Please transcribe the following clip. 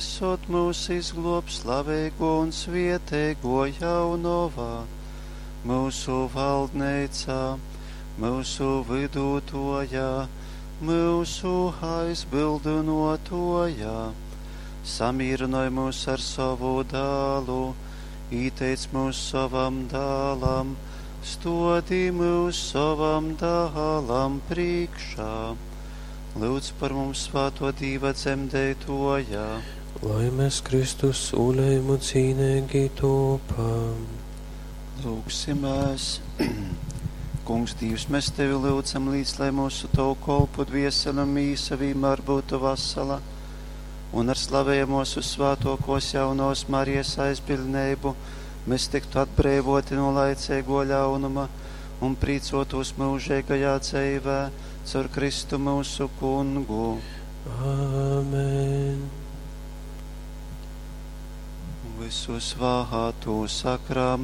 Vysod mūs izgluob slaveiguo un svieteiguo Jaunova, myusu valdneica, myusu vydutuoja, myusu aizbyldynuotuoja. Samīrynoj myus ar sovu dālu, īteic myus sovam dālam, stuodi myus sovam dālam prīškā. Lyudz par mums svātuo Dīva dzemdeituoja. Lai mēs Kristus sūlējumu cīneigi topam. Lūgsimēs. Kungs, Dīvs, mēs Tevi lyudzam līdz, lai mūsu Tavu kolpu dviesele un mīsa vienmēr būtu vasala, un ar slavējamos uz svātokos jaunos Marijas aizbildneibu mēs tiktu atbreivoti no laicīgo ļaunuma un prīcotos mūžīgajā dzīvē caur Kristu mūsu kungu. Āmen. Visu svātu sakramenti.